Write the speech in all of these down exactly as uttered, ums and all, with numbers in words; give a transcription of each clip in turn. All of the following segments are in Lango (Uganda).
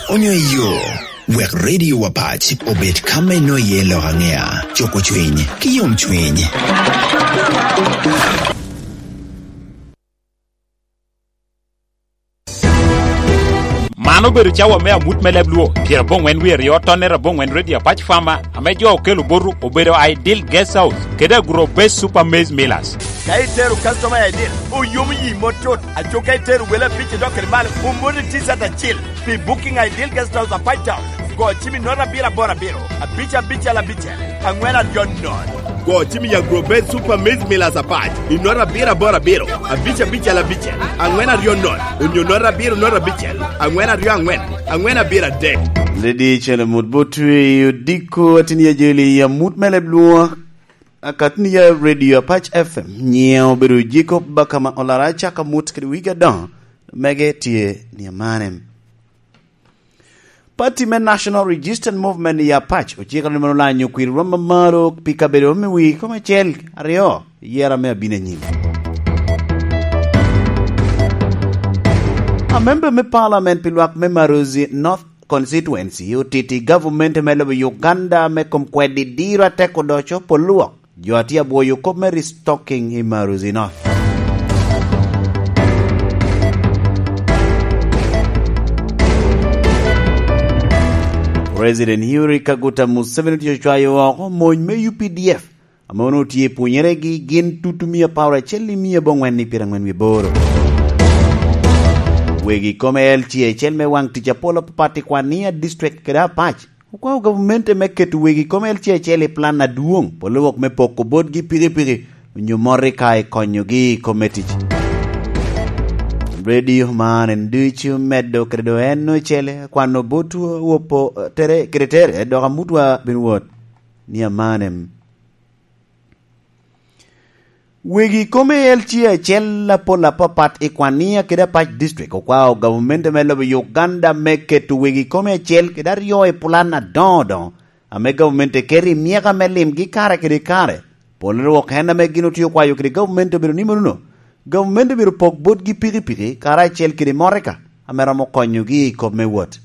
onyo i yo, wek Radio Apac obed ka me nwoyo iye lok aŋea, cuko cwiny, ki yom cwiny. Man obedo cawa me amut me leb Luo, pyerabongwen wie aryo, tonnere abongwen, Radio Apac Fama, ame jo okelo botu obedo Ideal Guest House kede Agro Base Super Maize Millers. Ka itero customer I D, oyomo yi mot tut. Aco ka itero wele abic idok kede malo, omoti T-shirt acil pi booking Ideal Guest House Apac Town. Go cim i note abiro aboro abiro, abic abicel abicel, aŋwen aryo nono. Go cim i Agro Base Super Maize Millers Apac i note abiro aboro abiro, abic abicel abicel, aŋwen aryo nono, onyo note abiro note abicel, aŋwen aryo aŋwen, aŋwen abiro adek. Lady Chelem Mut Botwe i odiko atin i ajoli i amut me leb Luo. Akatni ya Radio Apac F M, nyiŋe obedo Jacob Bakama Olara, acaka mut kede wigi adoŋo, mege tye ni amane. Pati me National Resistance Movement i Apac ociko ni mono lanyo kwir rwom mamalo pi kabedo me wigi kome acel aryo, yera me abino anyim. Amemba me Parliament pi lwak me Marozi North Constituency otiti gavumenti me lobo Uganda me kom kwedi diro atek odoco pol lwok. Jo a tye abwoyo kop me restocking i Marozi North. President Yoweri Kaguta Museveni otye ocwayo oko mony me U P D F, ame onwoŋo tye i pwonnyeregi gin tutu mia apar acel i mia aboŋwen i pyeraŋwen wie aboro. Wegi kome L C acel me waŋ tic apol apapat i Kwania District kede Apac okwao gavumenti me keto wegi kome L C acel i plan adwoŋ, polo wok me poko botgi pikipiki onyo motoka i konyogi i kome tic. Radio man en ducu medo kede do en ocele kwano botwa wopo tere kede tere dok amutwa bin wot ni amanem. Wegi kome L C acel apol apapat i Kwania kede Apac District okwao gavumenti me lobo Uganda me keto wegi kome acel kede aryo i pulan adoŋo doŋo ame gavumenti eketo i myeka me limgi kare kede kare. Pol rwok en ame gin otye okwayo kede gavumenti obedo ni monono, gavumenti obedo pok botgi pikipiki karacel kede motoka ame romo konyogi i kop me wot.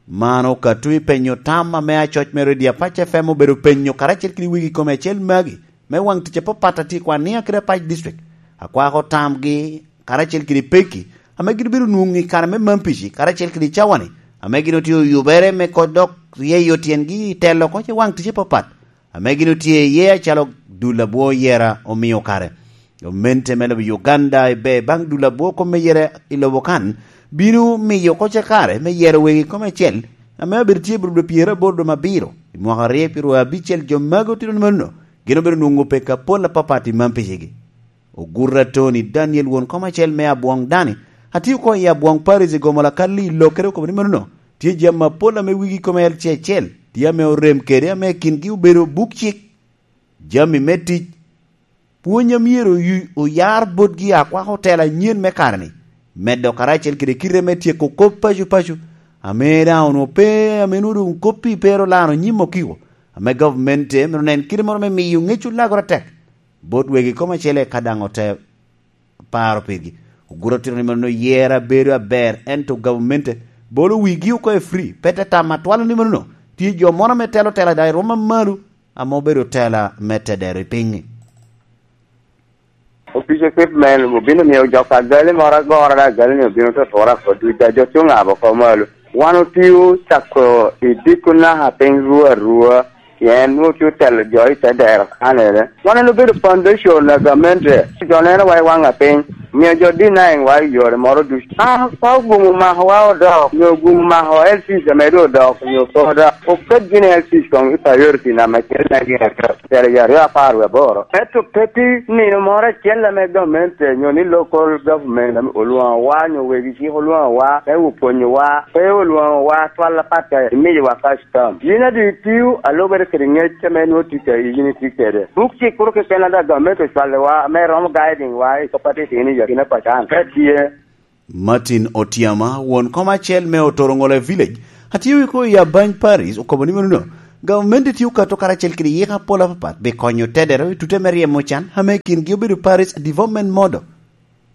Man okato i penyo tam ame acoc me Radio Apac F M obedo penyo karacel kede wegi kome acel magi me waŋ tic apapat a tye i Kwania kede Apac District. Akwako tamgi karacel kede pekki ame gin obedo nwoŋo i kare me Mampici karacel kede i cawani ame gin otye oyubere me kok dok ryeyo tyengi i telo oko i waŋ tic apapat ame gin otye iye acalo dul abwo yera omio kare. Gamente me lobo Uganda ibe baŋ dul abwo kop me yera i lobo kan bino miyo oko cakare me yero wegi kome acel ame abedo tye i Burudo pyeraboro dome abiro i mwaka aryo pyeraryo abicel. Jo magi otito ni mano gin obedo nwoŋo peko apol apapat i Mampicigi. Oguta Tony Daniel won kome acel me Abwoŋ Dani atye oko i Abwoŋ Paris i gomo lakal i Lokere okobo ni mano tye jami apol ame wigi kome L C acel tye ame orem kede ame kingi obedo buk cik, jami me tic, pwony a myero oyu- oyar botgi akwako tela anyen me kare-ni, medo karacel kede kite me tyeko kop paco paco, ame daŋ onwoŋo pe ame nwoŋo doŋ kop-pi pe ero lano nyim okiko, ame gavumenti myero onen kite moro me miyo ŋec olagore atek bot wegi kome acel eka daŋ ote paro pigi. Oguto tito ni mano yera bedo aber, ento gavumenti bolo wigi oko i free, pe te tam atwal ni mano tye jo moro ame telo tela daŋ i rwom amalo ame obedo tela me tedero i piny-ni. Opic equipment obino miyo jok agali moro agora, da agali ni obino to tura kod duc, da jo tye ongabo oko malo. Wan otio cako i dikuna a piny rua arua, pien nwoŋo ki otelo jo i te dero kanere. Wan en obedo foundation a gamente. Jo neno wa i waŋ a piny, miyo jo denying wa i yore moro ducu. An ka ogumo makowa odok, nyo ogumo mako L C C ame doŋ odok, nyo poda, oket gini L C C koŋ i priority na macel me gin acel, cel i aryo apar wie aboro. Ento pe pi nino moro acel ame gamente nyo ni local government ame olwoŋo wa, nyo wegi cik olwoŋo wa, me opwonyo wa, pe olwoŋo wa twal apat ka imiyo wa cash tam. Yin adi tio alubere kede ŋec ame nwoŋo tic a yin itye kede. Buk cik kuro keken ada gamente ocwalo wa, ame romo guiding wa i kop atit ini yakina pacan. Ka tye, Martin Otiama, won kom acel me Otoroŋole Village, atye wi ko i Abany Parish, okobo ni mano, gavumenti tye okato karacel kede yika apol apapat pi konyo tedero i tute me ryemo can ame kingi obedo Parish Development Model.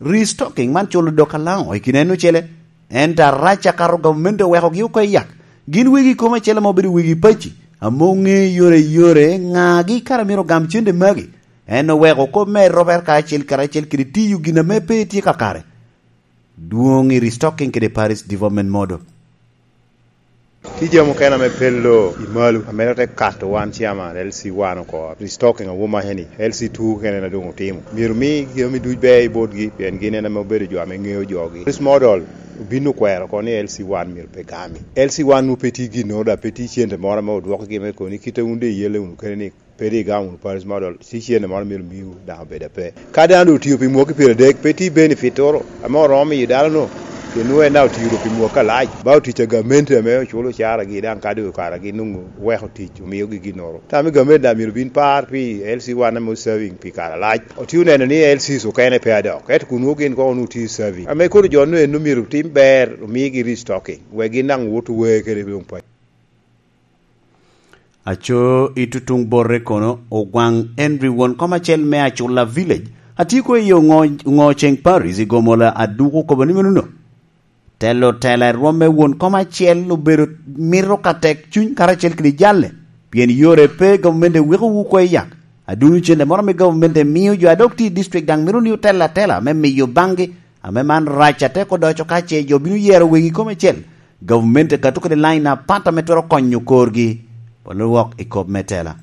Restocking man culo dok alaŋo i kine en ocele? Ento arac akato gamente owekogi oko i yak. Gin wegi kome acel ame obedo wegi paci, ame oŋe yore yore ŋagi kara myero ogam cente magi. En oweko kop me erobere kacel karacel kede tiyo gin ame pe tye kakare. Dwoŋ i restocking kede Paris Development Model. Tye jami mukene ame pe lo i malo, ame te kato wan chairman L C one oko. Restocking awomaca ni L C two kene na doŋ otimo. Myero mi jami duc ber i botgi, pien gin en ame obedo jo ame ŋeo jogi. Paris Model obin okwero oko ni L C one myero pe gami. L C one nwoŋo pe tye ginnoro, dok pe tye cente moro ame odwokogi me koni kite wun de iyelle wunu kene ni pe di igamo wunu Paris Model, ci cente moro myero miwu daŋ obed ape. Ka dano doŋ otio pi mwaki pyeradek, pe tye benefit toro ame oromo miyo dano-nu, pien nwoŋo en daŋ otio doŋ pi mwaki alac. Ba otic a gamente ame oculo caragi, daŋ ka doŋ okara gin nwoŋo oweko tic, omiogi ginnoro. Tam i gamente daŋ myero bin par pi L C one ame serving pi kare alac. Otye oneno ni L Cs okene pe adok, ento kun nwoŋo gin koŋ onwoŋo tye serving. Ame kono jo-nu en myero tim ber, omigi restocking, wek gin daŋ wot owe kede doŋ pa Aco i tutuŋ bote kono, Ogwaŋ Henry, won kom acel me Acula Village, atye kono i Oŋo-, Oŋoceŋ Parish i Gomola, Aduku, okobo ni menono. Telo tela i rwom me won kom acel obedo mito ka tek cuny karacel kede jalle, pien yore pe, gavumenti weko wu oko i yak. Aduno cente moro ame gavumenti mio jo a dok tye i district daŋ mito ni otel atela me miyo baŋgi, ame man rac atek odoco ka ce jo bino yero wegi kome acel. Gavumenti kato kede lain apat ame twero konyo korgi. Polo wok i kop me tela.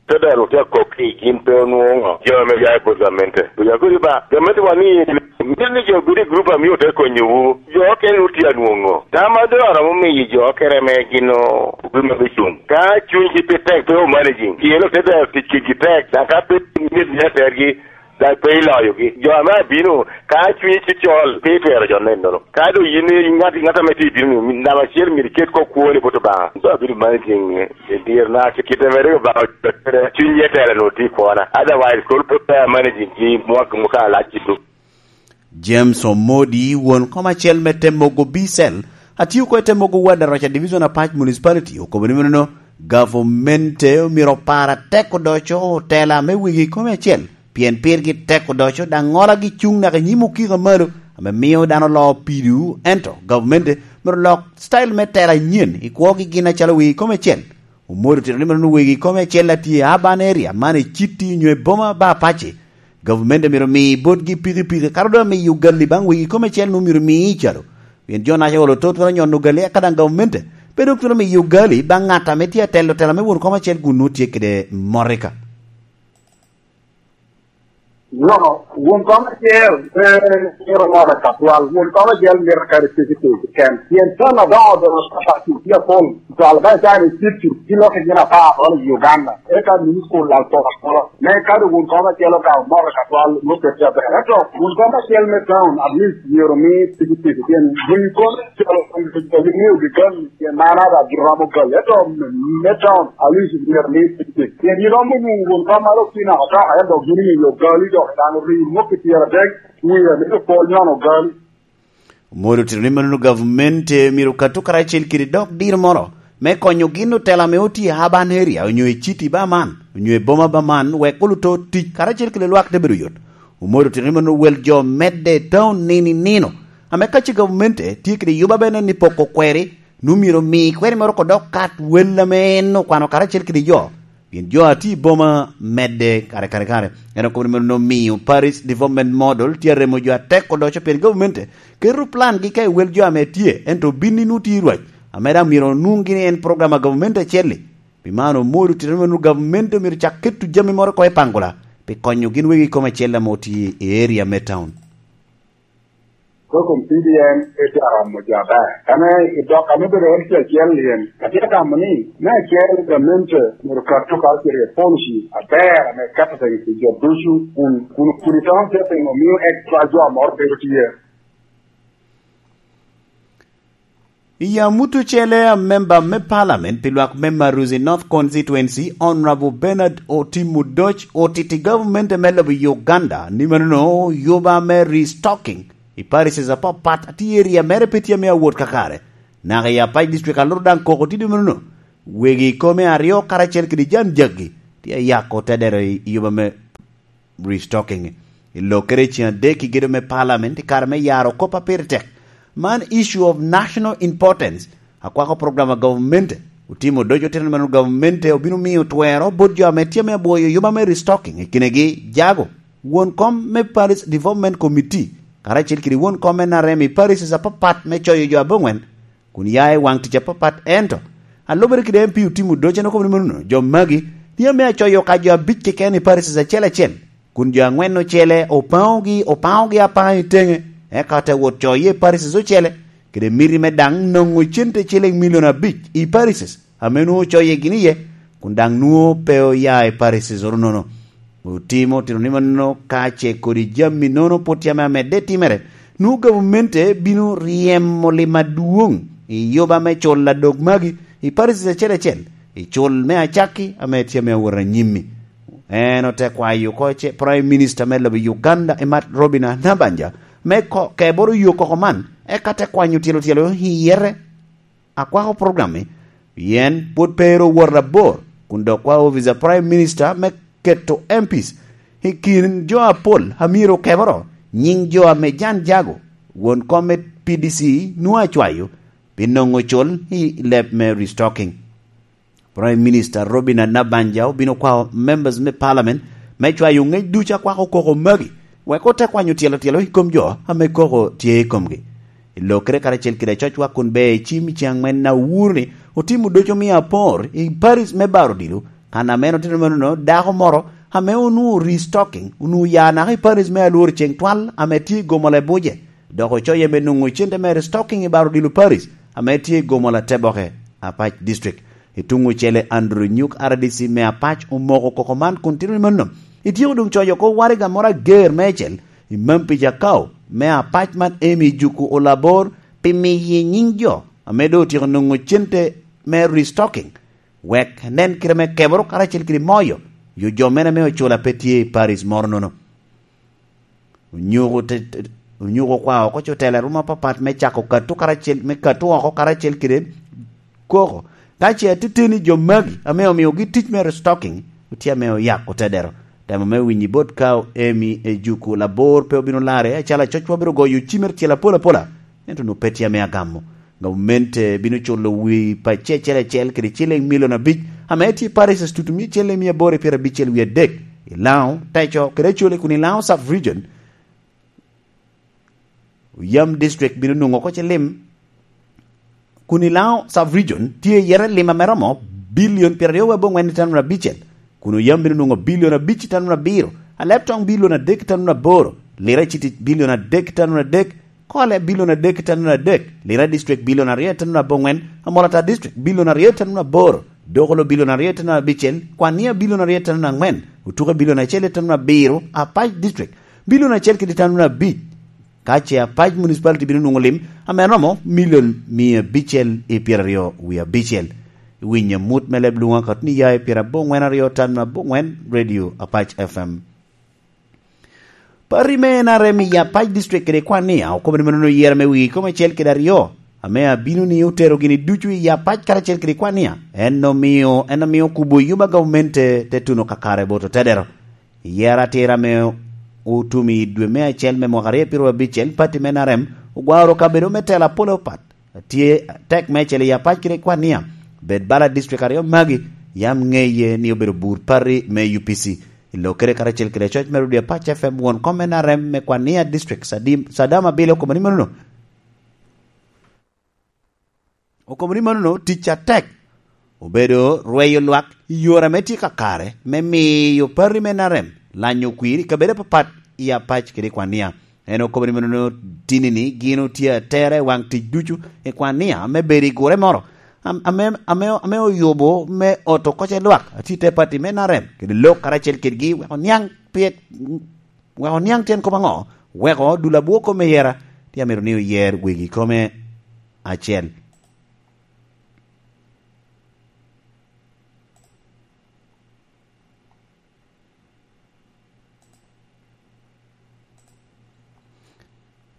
Te dero otye akok ki gin pe onwoŋo jo ame ya i bot gamente. Oya kodi ba, gamente wa ni, mito ni jo gudi grup a mio te konyowu. Jo okene wun tye anwoŋo. Tam a doŋ aromo miyo jo okene me gin o-, obin me cuŋ. Ka cunygi pe tek, pe o managing. Pien ote dero tic kigi tek, daŋ ka pe mit ni atergi, daŋ pe iloyogi. Jo ame abino, ka cunyi tye col, pe itwero jo nenono. Ka doŋ yin i ŋat, ŋat ame tye i bino-ni, namba acel myero iket kop kwoni bot Obaŋa. Doŋ abedo managing i dyerna, kite mere Obaŋa ocotere, cuny ye tela-nu tye i kwona. Otherwise, kono pe a managing gi mwaka, mwaka alac i duk. James Omodi, won kom acel me Temogo B-Cell, atio oko i Temogo Ward, Araca Division, Apac Municipality, okobo ni menono, gavumenti myero opar atek odoco otela me wegi kome acel, pien pirgi tek odoco, daŋ ŋolagi cuŋ naka i nyim okika malo, ame mio dano loo pido, ento gavumenti myero lok style me tela anyen i kwogi gin acalo wegi kome acel. Omodi otito ni menono wegi kome acel a tye i urban area, man i city onyo i boma ba Apac, gavumenti myero mi botgi pikipiki, kato doŋ amiyo ogali baŋ wegi kome acel nwoŋo myero mi calo. Pien jo naca olo to twero nyono ogali, eka daŋ gavumenti pe doŋ twero miyo ogali baŋ ŋat ame tye atelo tela me won kom acel kun nwoŋo tye kede motoka. No, won kom acel, eh, myero ŋolo ka twal. Won kom acel myero kare tegi tegi ken. Pien tam adoŋo doŋo kapati tye apol. Twal ba icani city, ki loki gin apar olo i Uganda. Eka mini school lal pol apola. Me kadi won kom acel okawo motoka twal, nwoŋo pet aber. Ento won kom acel me town, at least myero mi tegi tegi. Pien won kom acel, myero gi gal. Pien man ada giromo gali, ento me, me town, at least myero mi tegi tegi. Pien iromo nwoŋo won kom malo ki naka toka, ento gin imiyo gali dok dano ri, nwoŋo pi pyeradek, wiye mito pol nyono gali. Omoro otito ni manono gavumenti myero kato karacel kede dok diro moro me konyo gin otela ame otye i urban area, onyo i city ba man, onyo i boma ba man, wek oluto tic karacel kede lwak te bedo yot. Omoro otito ni manono wel jo medde i town nino i nino, ame ka ce gavumenti tye kede yuba bene ni poko kweri, nwoŋo myero omi kweri moro kodok kat wel ame en okwano karacel kede jo. Pien jo a tye i boma medde kare, kare, kare. En okobo ni meno omiyo Paris Development Model tye aremo jo atek odoco pien gavumenti keto plan gi ka i wel jo ame tye, ento obin i nwoŋo tye i rwac, ame daŋ myero onwoŋ gini en program a gavumenti acel-li. Pi man, omoro tito ni meno gavumenti omyero cak keto jami moro oko i Pangula pi konyo gin wegi kome acel ame otye i area me town. Program P D M pe tye aromo jo aber. Ame i dok ame obedo en tye acel lyen, atye ka gamo ni, me acel, gamente myero kat to karacel i policy aber ame keto piny pi jo ducu, kun, kun, kun i town setting omio extra jo moro bedo tye. I amut ocele, a member me parliament pi lwak me Maruzi North Constituency, Honorable Bernard Otim Odoc, otiti gavumenti me lobo Uganda ni manono yuba me restocking i parishes apapat a tye i area mere pe tye ame awot kakare. Naka i Apac District, aluro daŋ koko tye dwe manono. Wegi kome aryo karacel kede jan jaggi tye ayako te dero i yuba me restocking. I lokere ceŋ adek i gedo me Parliament i kare me yaro kop a pire tek. Man issue of national importance. Akwako program a gavumenti otimo doco tino meno gavumenti obino miyo twero bot jo ame tye me abwoyo yuba me restocking i kinegi jago. Won kom me Parish Development Committee karacel kede won kom me N R M i parishes apapat me coyo jo abongwen kun ya i waŋ tic apapat, ento alubere kede M P otimo doce en okobo ni mano jo magi tye ame acoyo ka jo abic keken i parishes acel acel, kun jo angwen ocele opaogi, opaogi apaŋa i teŋe, eka te wot coye i parishes ocele, kede miti me daŋ noŋo cente ciling milion abic i parishes ame nwoŋo coye gini iye, kun daŋ nwoŋo pe oya i parishes oro nono. Otimo tino ni mano ka ce kodi jami nono pwod tye ame amedde timere, nwoŋo gavumenti bino ryemo lim adwoŋ i yuba me cul adok magi i parishes acel acel, i cul me acakki ame tye ame awot anyimmi. En ote kwayo oko ce Prime Minister me lobo Uganda, Emat Robina Nabanja, me ko-, keboro yo koko man, eka te kwanyo tyelo tyelo i yete. Akwako program-mi, pien pwod pe ero wot abor, kun dok kwa ofice a Prime Minister me keto M Ps i kin jo apol a myero okeboro, nyiŋ jo ame Jan Jago, won kom me P D C, nwoŋo acwayo pi noŋo col i leb me restocking. Prime Minister Robina Nabanja obino kwao members me Parliament me cwayo ŋec ducu akwako koko magi, wek ote kwanyo tyelo tyelo i kom jo ame koko tye i komgi. I lokere karacel kede acocwa kun ber i cim i ceŋ aŋwen na owuro ni otimo doco mia apor i paris me Baro Odilo, kan ame en otito menono dako moro ame onwoŋo restocking, onwoŋo ya naka i paris me Alwor ceŋ twal ame tye i Gomola i Buje, dok ocoye me nwoŋo cente me restocking i Baro Odilo paris ame tye i Gomola Teboke, Apac District. I tuŋ ocele, Andrew Nyuk, R D C me Apac, omoko koko man kun tito ni mano. Ityeko doŋ coyo oko waraga moro ager meicel i Mampi Jakau me Apac man Amy Juku Olabor pi miye nyiŋ jo ame doŋ otyeko nwoŋo cente me restocking, wek nen kite me keboro karacel kede moyo yo jo mene ame ocula pe tye i paris moro nono. Onyuko te-, te-, onyuko kwa oko cotelo a ruma apapat me cako kato karacel, me kato oko karacel kede koko. Ka ce atiteni jo magi ame omiogi tic me restocking, otye ame oyako te dero. Temo me winyi bot ka Emi Ejuku Labor pe obino larre, acalo acocwa bino goyo cimere tyel apol apola, ento onwoŋo pe tye ame agamo. Gavumenti bino culo wi pacci acel acel kede ciling milion abic, ame tye parishes tutumia ciling mia aboro i pyerabicel wie adek, i Laŋo, Teco, kede Acholi, kun i Laŋo Sub Region, Oyam District bino nwoŋo oko cilim, kun i Laŋo Sub Region tye iye lim ame romo bilion pyeraryo wie abongwen i tanura abicel, kun Oyam bino nwoŋo bilion abic i tanura abiro, Alebtoŋ bilion adek i tanura aboro, Lira City bilion adek i tanura adek, Kole bilion adek i tanura adek, Lira District bilion aryo i tanura abongwen, Amolata District bilion aryo i tanura aboro, Dokolo bilion aryo i tanura abicel, Kwania bilion aryo i tanura angwen, Otuke bilion acel i tanura abiro, Apac District bilion acel kede tanura abic. Ka ce Apac Municipality bino nwoŋo lim ame romo milion mia abicel i pyeraryo wie abicel. Iwinyo amut me leb luŋ akato ni ya i pyerabongwen aryo tanura abongwen, Radio Apac F M. Pati me N R M i Apac District kede Kwania okobo ni mano oyero me wii kom acel kede aryo, ame abino ni otero gini ducu i Apac karacel kede Kwania. En omio, en omio kubo yuba gavumenti te, te tuno kakare bot otedero. I yero atira ame otum i dwe me acel me mwaka aryo pyeraryo abicel, pati me N R M ogwaro kabedo me tela pole opat. Tye tek meicel i Apac kede Kwania. Bed bala district aryo magi, yam ŋeye ni obedo bur pati me U P C. I lokere karacel kede coc me Radio Apac F M, won kom me N R M me Kwania District, Sadim-, Sadam Abili okobo ni manono. Okobo ni manono tic atek obedo rweyo lwak i yore ame tye kakare me miyo pati me N R M lanyo kwir i kabedo apapat i Apac kede Kwania. En okobo ni manono, tini-ni gin otye atera i waŋ tic ducu i Kwania me bedo i gure moro am-, ame, ame, ame oyubo me oto koc e lwak atye i te pati me N R M kede lok karacel kedgi wek oniaŋ pye-, wek oniaŋ tyen kop aŋo, weko dul abwo kome yera, tye amito ni oyer wegi kome acel.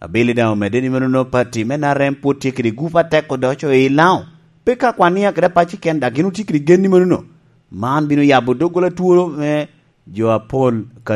Abili daŋ omedde ni menono pati me N R M pwod tye kede gup atek odoco i Laŋo. Pe ka Kwania kede Apac keken, dok gin otye kede gen ni menono. Man bino yabo doggola twolo me jo apol ka